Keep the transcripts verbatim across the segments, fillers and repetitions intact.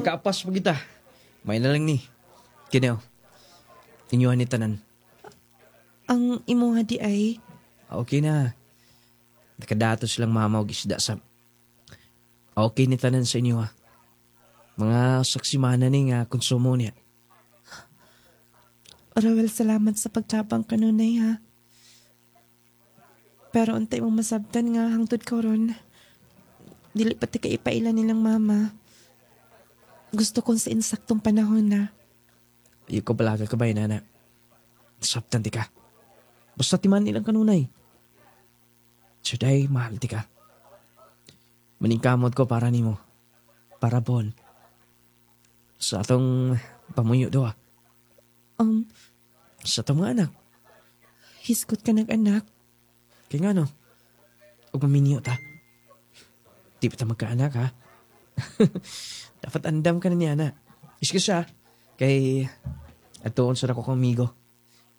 Nakaapas pa kita. May na lang ni. Kini oh. Inyuhan ni tanan. Ang imuha di ay, Ah, Okay na. Nakadato silang mama og isda sa... Ah, Okay ni tanan sa inyo ha. Mga saksimana ni nga konsumo niya. Rowel, salamat sa pagtabang kanunay ha. Pero untay mo masabtan nga hangtod karon. Dili pa ti ka ipaila nilang mama. Gusto kong sa insaktong panahon na. Iyo ko balaga ka ba, nana? Sabtan ti ka. Basta timan nilang kanunay. Juday, mahal ti ka. Maningkamot ko para nimo. Para bon. Sa atong pamuyo do ah. Um, Sa atong mga anak. Hisgot ka nag-anak. Kaya nga no. Ug maminyo ta. Di pa ta magkaanak ha. Dapat andam ka na niya na. Excuse siya. Kay atuon sa ko kong amigo.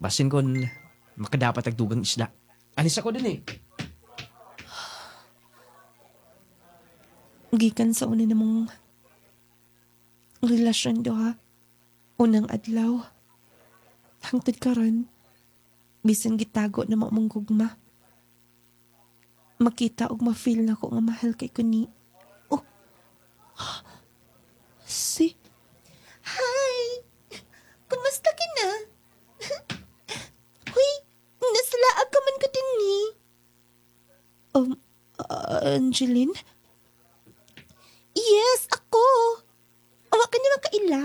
Basin kon makadapat ang dugang isda. Alis ako din eh. Gikan sa una namong relasyon do ha. Unang adlaw. Hangtod karon, bisan gitago na mo mong gugma. Makita og ma-feel na ko nga mahal kay ko ni. Oh. Si. Hi! Kumusta ka na? Huy, nasalaag ka man ko din ni. Um, uh, Angeline? Yes, ako. Awa ka naman kaila.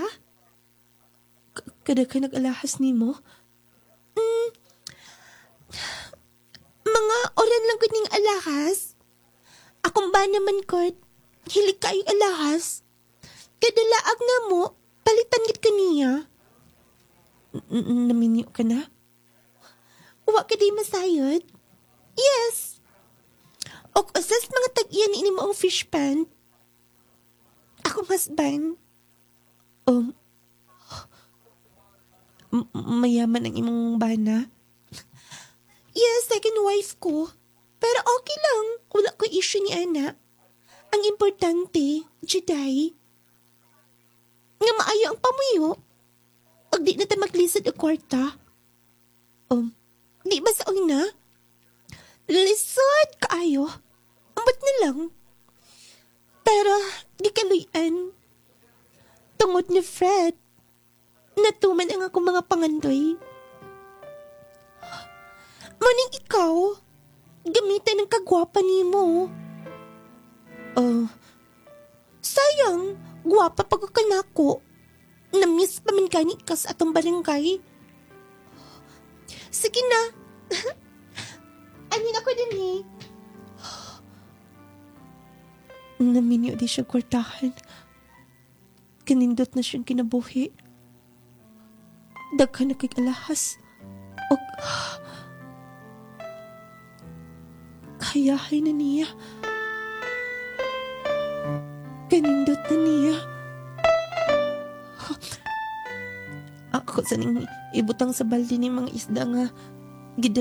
K- kada ka nag-alahas nimo? Mm, mga oran lang ko ning alahas. Akong ba naman ko, hilig kayo alahas. Kadalaag na mo, palitan gid ka niya. N- Naminyo ka na? Wa ka di masayod? Yes. Og usas mga tag-iyan ini mo ang fish pan. Akong husband. Um, m- mayaman ang imong bana. Yes, second wife ko. Pero okay lang. Wala ko issue ni Ana. Ang importante, Juday, nga maayo ang pamuyo. Og di na ta maglisod og kwarta. Um, di ba sa una? Lisod kaayo. Ambot na lang. Pero, di kaluyan. Tungod ni Fred, natuman ang akong mga pangandoy. Maning ikaw, gamitan ng kagwapa nimo. Oh, sayang, gwapa pag ka nako. Na-miss pa man gani ka sa atong barangay. Sige na. Anin ako din eh. Naminyo di siya kwartahan. Kanindot na siyang kinabuhi. Daghan na kay alahas. Og kayahay na niya. Kanindot na niya. Ako sa ning ibutang sa balde ni mga isda nga